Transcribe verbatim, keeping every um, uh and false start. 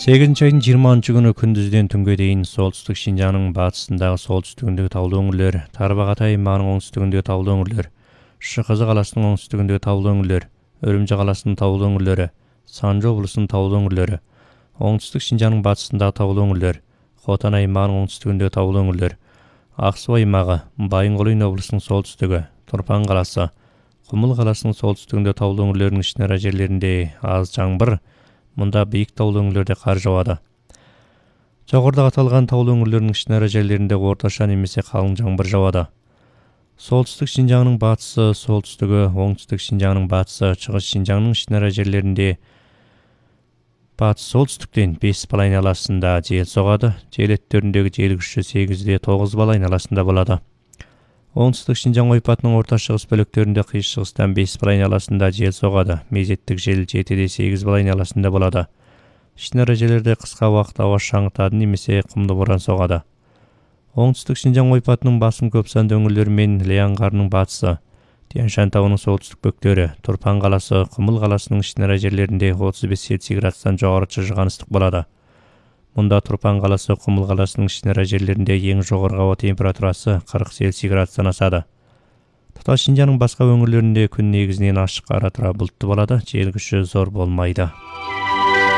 сегизинчи айдын жыйырманчы күнү күндүздөн түнгө дейин солтүстүк Шинжаңдын батысындагы солтүстүгүндөгү таулуу өңүрлөр, Тарбагат аймагынын оңтүстүгүндөгү таулуу өңүрлөр, ШКЗ каласынын оңтүстүгүндөгү таулуу өңүрлөр, Өрүмчү каласынын таулуу өңүрлөрү, Санжы облусунун таулуу өңүрлөрү, оңтүстүк Шинжаңдын батысындагы таулуу өңүрлөр, Хотан аймагынын оңтүстүгүндөгү таулуу өңүрлөр, Ак Суу аймагы, Байынгол облусунун солтүстүгү, Турпан каласы, Кумул каласынын солтүстүгүндө таулуу өңүрлөрүнүн ичнара жерлеринде аз жаңбыр, мында бийик таулуу өңүрлөрдө кар жаады. Жогоруда аталган таулуу өңүрлөрдүн ичнара жерлеринде орточо немесе калың жаңбыр жаады. Солтүстүк Шинжаңдын батысы, солтүстүгү, оңтүстүк Шинжаңдын батысы, чыгыш Шинжаңдын ичнара жерлеринде батыс солтүстүктөн беш бал айналасында жел согады. Жел өттөрүндөгү жел күчү сегизде тогуз бал айналасында болот. Оңтүстүк Шинжаң ойпатынын орто чыгыс бөлүктөрүндө кыйш чыгыстан беш бал айналасында жел согады. Мезеттик жел жетиде сегиз бал айналасында болот. Ичнара жерлерде кыска убакыт аба шаңытады немесе кумду борон согады. Оңтүстүк Шинжаң ойпатынын басым көп сандуу өңүрлөрү менен Ле аңгаарынын батысы, Тянь-Шань табынын солтүстүк бөктөрү, Турпан каласы, Кумул каласынын ичнара жерлеринде отуз беш Цельсий градустан жогору чыжыган ыстык болот. Мында Турпан каласы, Кумул каласынын ичнара жерлеринде эң жогорку аба температурасы кырк Цельсий градустан ашады. Татаал Шинжаңдын башка өңүрлөрүндө күн негизинен ачык ара тура булуттуу болот, жел күчү зор болмойт.